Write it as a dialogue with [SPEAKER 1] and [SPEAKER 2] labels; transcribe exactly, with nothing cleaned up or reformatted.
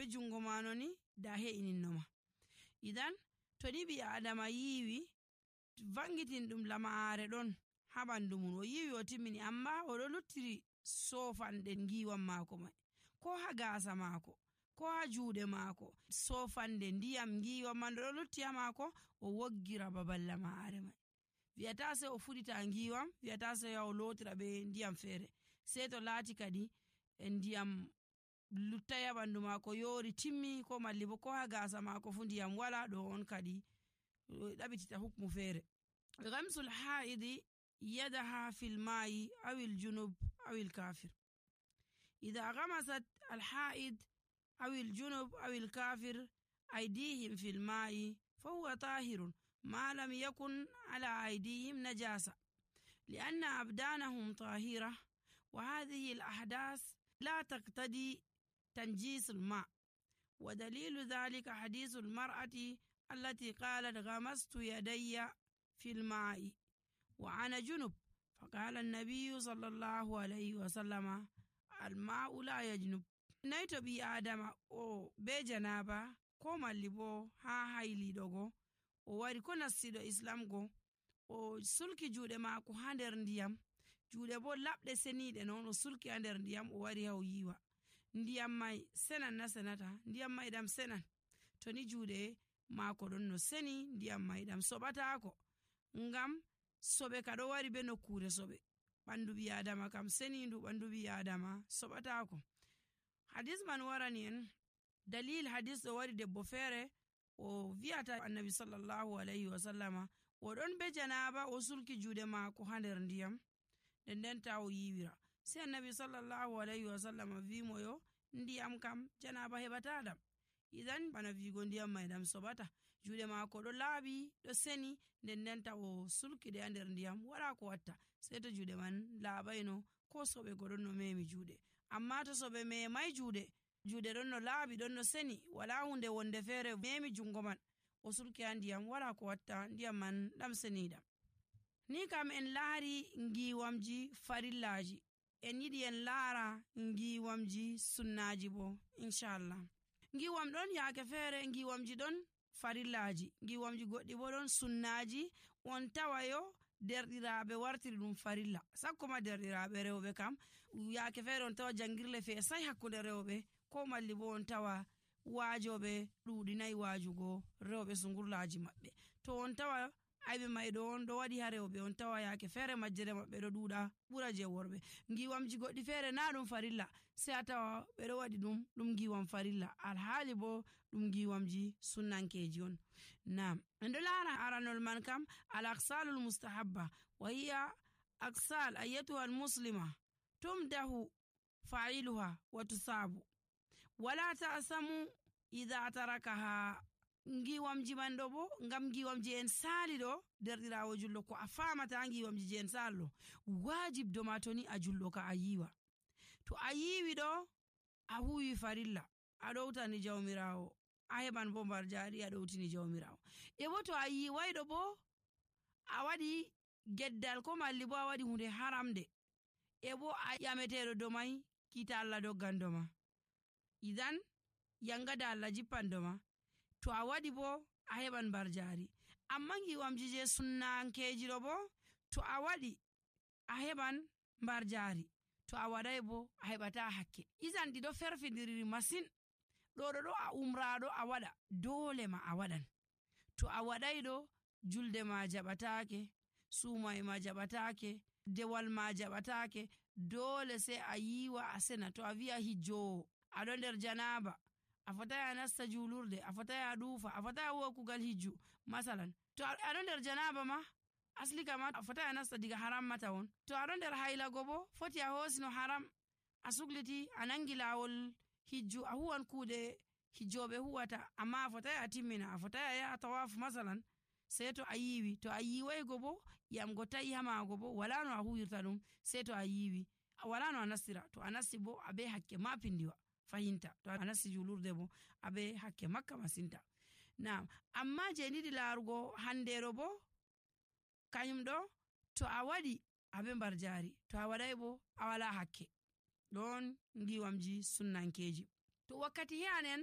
[SPEAKER 1] be jungo mano ni da he'ininoma. Idan to ni bi adama yiwi vangitin dum lamaare don ha bandu mun, o yiwi o timmini amma o do luttiri sofande ngiwam mako mai, ko ha gasa mako ko ha juude mako, sofande ndiyam ngiwam man do lutti ha mako, o woggira babal lamaare mai. Wi'ata sai o fudita ngiwam, wi'ata sai o lotira be ndiyam fere, sai to laati kadi ndiyam luttaya bandu mako yori timmi, ko malli bo ko ha gasa mako fu ndiyam wala, do on kadi dabitita hukmu fere. Ghamsul haidi yadaha fil ma'i aw al junub aw al kafir. idha ghamasat al haid aw al junub aw al kafir aydihim fil ma'i fahuwa tahirun ما لم يكن على أيديهم نجاسة لأن أبدانهم طاهرة، وهذه الأحداث لا تقتضي تنجيس الماء. ودليل ذلك حديث المرأة التي قالت غمست يدي في الماء وأنا جنب، فقال النبي صلى الله عليه وسلم الماء لا يجنب. نيتو بي آدم أو بجنابة كوما اللي ها هايلي دوغو o wari ko nassido islam go o sulki juude maako ha nder ndiyam, juude bo labde senide non o sulki ha nder ndiyam, o wari haw yiwa ndiyam mai senan na senata, ndiyam mai dam senan, to ni juude maako don no seni ndiyam mai dam sobatako, ngam sobe kado wari be nokkure sobe, bandu bi adama kam seni ndu bandu bi adama sobatako. Hadis man warani en dalil hadis do wari debbo fere o viata annabi sallallahu alaihi wasallama o don be janaba o sulki juude maako ha nder ndiyam den den taw yiwira, sai annabi sallallahu alaihi wasallama vi moyo ndiyam kam janaba hebata dam. Idan bana vigo ndiyam mai dam sobata, juude maako do laabi do seni den den taw sulki de nder ndiyam, wala ko watta sai to juude man laabayno ko sobe godon no memi juude. Amma to sobe me mai juude juude don no laabi don no seni, wala hunde wonde fere memi jungo man o sulki ndiyam, wala ko watta ndiyam man dam senida. Ni kam en laari ngiwamji farillaji, en yidi en laara ngiwamji sunnaji bo inshallah. Ngiwam don yaake fere ngiwamji don farillaji, ngiwamji goddi bo don sunnaji, on tawayo derdiraabe wartiri dum farilla, sakko ma derdiraabe rewbe kam yaake fere on tawa jangirle fe sai hakkunde rewbe, ko malli bo on tawa waajobe duudinayi waajugo rewbe sungurlaaji mabbe, to on tawa aybe maydo on do wadi ha rewbe, on tawa yaake fere majjere mabbe do duuda bura je worbe. Ngiwamji goddi fere na dum farilla, sai atawa be do wadi dum dum ngiwam farilla, al hali bo dum ngiwamji sunnankeji on. Naam, ndo lara aranol man kam al aqsalul mustahabba wa hiya aqsal ayatuha al muslima tumdahu fa'iluha wa tusabu wala ta'samu idha tarakaha. Ngiwamji mando bo ngam ngiwamji en sali do derdirawo jullo ko a famata ngiwamji en sallo wajib do matoni a jullo ka ayiwa, to ayiwi do a huwi farilla a dowtani jawmirawo, a heban bo mbar jari a dowtini jawmirawo. E bo to ayiwai do bo a wadi geddal ko malli bo a wadi hunde haramde, e bo a yametedo do mai kita Allah doggando ma, idan yangada Allah jippando ma, to a wadi bo a heban barjari. Amma ngiwamji je sunnankeji do bo to a wadi a heban barjari, to a wadai bo a hebata hakke. Izan di do ferfindiri masin, do do do a umrado a wada dole ma a wadan, to a wadai do julde ma jabatake, sumai ma jabatake, dewal ma jabatake, dole sai a yiwa a sena. To a viya hijjo a don der janaba, a fataya nasta julurde, a fataya dufa, a fataya huwa kugal hijju masalan, to a don der janaba ma asli kama a fataya nasta diga haram mata won, to a don der haila gobo foti a hosino haram a sugliti a nangi lawol hijju, a huwan kude hijjobe huwata, amma a fataya a timmina, a fataya ya tawaf masalan, sai to a yiwi, to a yiwai gobo yam go tayi hama gobo wala no a huwirta dum, sai to a yiwi wala no a nastira, to a nasti bo abe hakke ma pindiwa fahinta, to a nasti julurde bo abe hakke makka masinta. Naam, amma je nidi larugo handero bo kanyum do to a wadi abe barjari, to a wadai bo a wala hakke. Don ngiwamji sunnankeji. To wakkati yanen